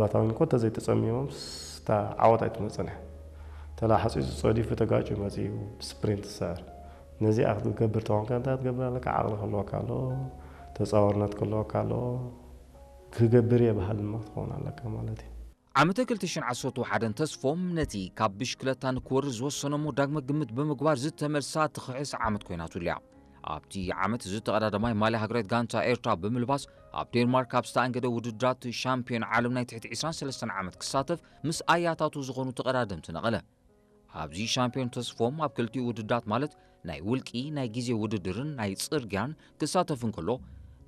ባታውን እኮ እንተዘይተጸሚሞም ስታ ዓወት ኣይትመጽእን እያ። ተላ ሓጺጹ ጸዲፉ ተጋጭ መጺኡ ስፕሪንት ትስዕር። ነዚኣ ክትገብር ተኾንካ እንታይ ክትገብር ኣለካ? ዓቕሊ ክህልወካ ኣለዎ፣ ተጻዋርነት ክህልወካ ኣለዎ፣ ክገብር እየ በሃል ድማ ክትኸውን ኣለካ ማለት እዩ። ዓመተ ክልተ ሽሕን ዓሰርተ ሓደን ተስፎም ነቲ ካብ ብሽክለታ ንክወርድ ዝወሰኖ እሞ ዳግመ ግምት ብምግባር ዝተመልሳ ትኽዕስ ዓመት ኮይናትሉ እያ። ኣብቲ ዓመት ዝተቐዳደማይ ማልያ ሃገራዊት ጋንታ ኤርትራ ብምልባስ ኣብ ዴንማርክ ኣብ ዝተኣንገደ ውድድራት ሻምፒዮን ዓለም ናይ ትሕቲ ዕስራን ሰለስተን ዓመት ክሳተፍ ምስ ኣያታቱ ዝኾኑ ተቐዳደምቲ ነቐለ። ኣብዚ ሻምፒዮን ተስፎም ኣብ ክልቲኡ ውድድራት ማለት ናይ ውልቂ ናይ ግዜ ውድድርን ናይ ጽርግያን ክሳተፍ እንከሎ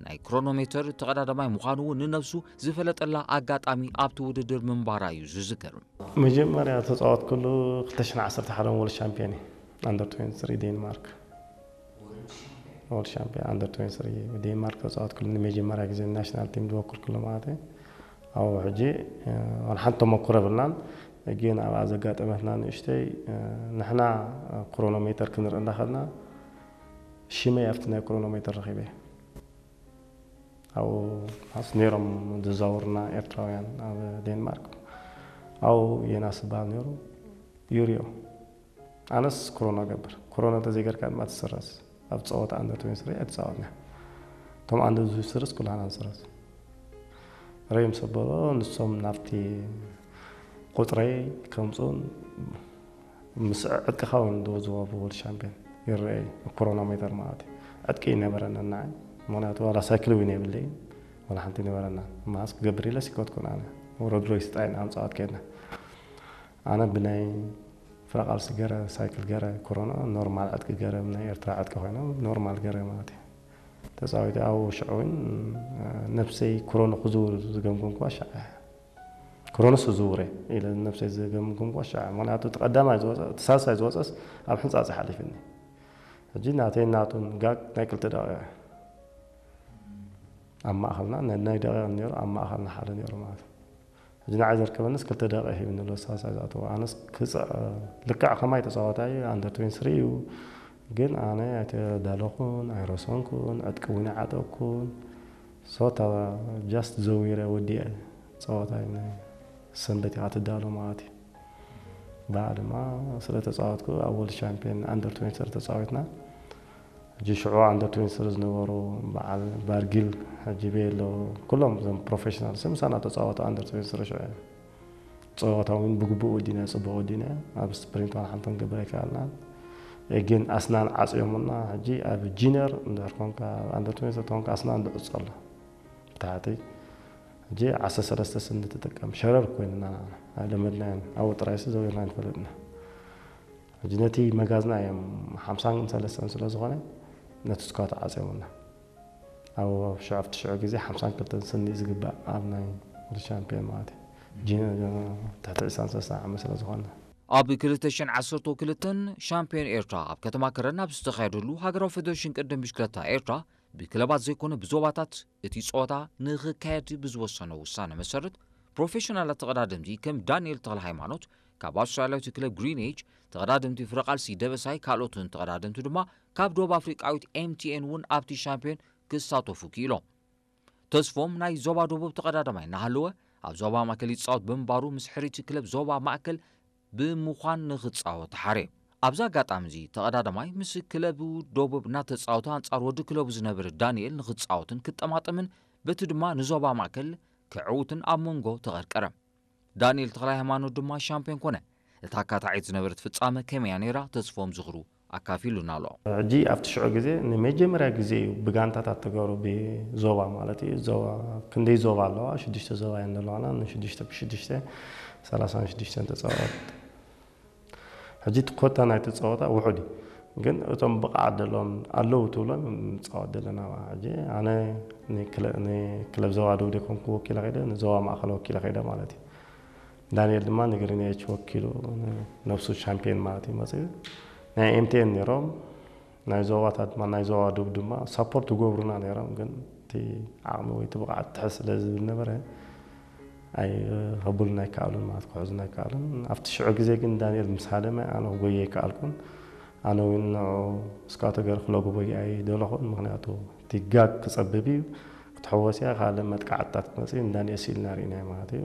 ናይ ክሮኖሜተር ተቐዳዳማይ ምዃኑ እውን ንነብሱ ዝፈለጠላ ኣጋጣሚ ኣብቲ ውድድር ምንባራ እዩ ዝዝከር። መጀመርያ ተፃወትኩሉ ክልተ ሽሕን ዓሰርተ ሓደን ወርልድ ሻምፒዮን እዩ ኣንደር ትዌንቲ ስሪ ዴንማርክ ወርልድ ሻምፒዮን ኣንደር ትዌንቲ ስሪ ዴንማርክ ተፃወትኩሉ ንመጀመርያ ግዜ ናሽናል ቲም ዝወክልኩሉ ማለት እዩ። ኣብኡ ሕጂ ዋላ ሓንቲ ተመኩሮ የብልናን። ግን ኣብኣ ዘጋጠመትና ንእሽተይ ንሕና ክሮኖሜተር ክንርኢ እንዳኸድና ሽመይ ኣብቲ ናይ ክሮኖሜተር ረኺበ ኣብኡ ማስ ነይሮም ዝዛውርና ኤርትራውያን ኣብ ዴንማርክ ኣብኡ የናስ ዝበሃል ነይሩ ዩሪዮ ኣነስ ክሮኖ ገብር ክሮኖ እንተዘይገርካ ድማ ትስረዝ ኣብ ፀወታ ኣንደር ትዌንቲ ስሪ ኣይተፃወትና እቶም ኣንደር ትዌንቲ ስሪስ ኩላና ንስረዝ ረዮም ሰበሎ ንሶም ናብቲ ቁፅረይ ከምፁን ምስ ዕጥቅኻ እውን ዶ ዝወቡ ወርልድ ሻምፒዮን ይረአ እዩ። ክሮኖሜተር ማለት እዩ። ዕጥቂ ይነበረንን ንዓይ። ምኽንያቱ ዋላ ሳይክል እውን የብለይን። ዋላ ሓንቲ ይነበረና። ማስ ክገብር ኢለ ሲኮትኩን ኣነ። ወረድሮ ይስጣይን ኣምፃዋት ከይድና። ኣነ ብናይ ፍረቃልሲ ገረ ሳይክል ገረ ክሮኖ ኖርማል ዕጥቂ ገረ ናይ ኤርትራ ዕጥቂ ኮይኖም ኖርማል ገረ ማለት እዩ። ተፃዊተ ኣብኡ ሽዑ እውን ነብሰይ ክሮኖ ክዝውር ዝገምገምኩዋ ሻዕ ክሮኖስ ዝውረ ኢለ ነብሰይ ዝገምግም ቆሻ ምክንያቱ እቲ ቀዳማይ ዝወፀ እቲ ሳልሳይ ዝወፀስ ኣብ ሕንፃፅ ሓሊፍኒ ሕጂ ናተይ ናቱን ጋግ ናይ ክልተ ደቂቃ ኣብ ማእኸልና ናይ ደቂቃ ነይሩ ኣብ ማእኸልና ሓደ ነይሩ ማለት ሕጂ ንዓይ ዘርከበንስ ክልተ ደቂቃ ሂብኒ ኣሎ ሳልሳይ ዝኣተዎ ኣነስ ክፅዕ ልክዕ ከማይ ተፃዋታይ ኣንደር ትዌንቲ ስሪ እዩ ግን ኣነ ኣይተዳለኹን ኣይረሰንኩን ዕጥቂ እውን ይዓጠኩን ሶታ ጃስት ዘዊረ ወዲአ ፀወታይ ሰንበት ኢኻ ትዳሎ ማለት እዩ። ብኣ ድማ ስለ ተፃወትኩ ኣብ ወርልድ ሻምፒዮን ኣንደር ትዌንቲ ስሪ ተፃዊትና። ሕጂ ሽዑ ኣንደር ትዌንቲ ስሪ ዝነበሩ በዓል ባርጊል ሕጂ ቤሎ ኩሎም እዞም ፕሮፌሽናል ምሳና ተፃወቱ ኣንደር ትዌንቲ ስሪ ሽዑ እዮም። ፀወታ እውን ብግቡእ ወዲና ፅቡቅ ወዲና ኣብ ስፕሪንት ዋላ ሓንቲ ክንገብር ኣይከኣልናን። ግን ኣስናን ዓፅዮምና ሕጂ ኣብ ጂነር እንድሕር ኮንካ ኣንደር ትዌንቲ ስሪ ተኮንካ ኣስናን ድዕፆ ኣሎ። ብታሕቲ ሕጂ ዓሰርተ ሰለስተ ስኒ ትጥቀም ሸረር ኮይንና ኣለመድናዮን ኣብኡ ጥራይሲ ዘዊርና ንፈልጥና ሕጂ ነቲ መጋዝና እዮም ሓምሳን ሰለስተን ስለ ዝኾነ ነቲ ስኳት ዓፅዮምና ኣብ ሽዑ ኣብቲ ሽዑ ግዜ ሓምሳን ክልተን ስኒ ዝግባእ ኣብ ናይ ወዲ ሻምፒዮን ማለት እዩ ትሕቲ ዕስራን ሰለስተን ዓመት ስለ ዝኾነ ኣብ ክልተ ሽሕን ዓሰርተ ክልተን ሻምፒዮን ኤርትራ ኣብ ከተማ ከረን ኣብ ዝተኻየደሉ ሃገራዊ ፌደሬሽን ቅድም ብሽክለታ ኤርትራ ብክለባት ዘይኮነ ብዞባታት እቲ ጸወታ ንኽካየድ ብዝወሰኖ ውሳነ መሰረት ፕሮፌሽናላት ተቐዳደምቲ ከም ዳንኤል ተኽለ ሃይማኖት ካብ ኣውስትራልያዊት ክለብ ግሪን ኤጅ፣ ተቐዳደምቲ ፍረቓልሲ ደበሳይ ካልኦትን ተቐዳደምቲ ድማ ካብ ደቡብ ኣፍሪቃዊት ኤምቲኤን እውን ኣብቲ ሻምፒዮን ክሳተፉ ክኢሎም። ተስፎም ናይ ዞባ ደቡብ ተቐዳዳማይ እናሃለወ ኣብ ዞባ ማእከል ይጻወት ብምንባሩ ምስ ሕርይቲ ክለብ ዞባ ማእከል ብምዃን ንኽጻወት ተሓርየ። ኣብዚ ኣጋጣሚ እዚ ተቐዳዳማይ ምስ ክለቡ ደቡብ እናተጻወተ ኣንጻር ወዲ ክለቡ ዝነበረ ዳንኤል ንኽጻወትን ክጠማጠምን በቲ ድማ ንዞባ ማእከል ክዕውትን ኣብ መንጎ ተቐርቀረ። ዳንኤል ተኽለሃይማኖት ድማ ሻምፒዮን ኮነ። እታ ኣካታዒት ዝነበረት ፍጻመ ከመይ እያ ነይራ? ተስፎም ዝኽሩ ኣካፊሉና ኣሎ። ሕጂ ኣብቲ ሽዑ ግዜ ንመጀመርያ ግዜ እዩ ብጋንታታት ተገሩ ብዞባ ማለት እዩ ዞባ ክንደይ ዞባ ኣለዋ ሽዱሽተ ዞባ እየን ዘለዋና ንሽዱሽተ ብሽዱሽተ ሰላሳን ሽዱሽተን ተፃወት ሕጂ እቲ ኮታ ናይቲ ፀወታ ውሑድ እዩ ግን እቶም ብቕዓት ዘለዎም ኣለዉ ትብሎም ንፃወት ዘለና ሕጂ ኣነ ንክለብ ዞባ ደቡብ ዘይኮንኩ ወኪለ ከይደ ንዞባ ማእኸል ወኪለ ከይደ ማለት እዩ ዳንኤል ድማ ንግሪን ኤች ወኪሉ ነብሱ ሻምፒዮን ማለት እዩ መፅኡ ናይ ኤምቲኤን ነይሮም ናይ ዞባታት ናይ ዞባ ደቡብ ድማ ሳፖርት ይገብሩና ነይሮም ግን እቲ ዓቕሚ ወይ እቲ ብቕዓት ትሕት ስለ ዝብል ነበረ ኣይኸብሉን ኣይከኣሉን ማለት ክሕዙን ኣይከኣሉን ኣብቲ ሽዑ ግዜ ግን ዳንኤል ምስ ሃደመ ኣነ ክጎየ ኣይከኣልኩን ኣነ እውን ንዑ እስካቶ ገር ክለጉቦ ኣይደለኹን ምክንያቱ እቲ ጋግ ክፀብብ እዩ ክትሕወስ እያ ካልእ መጥቃዕትታት ክመፅእ እዩ ንዳንኤል ስኢልና ርኢናዮ ማለት እዩ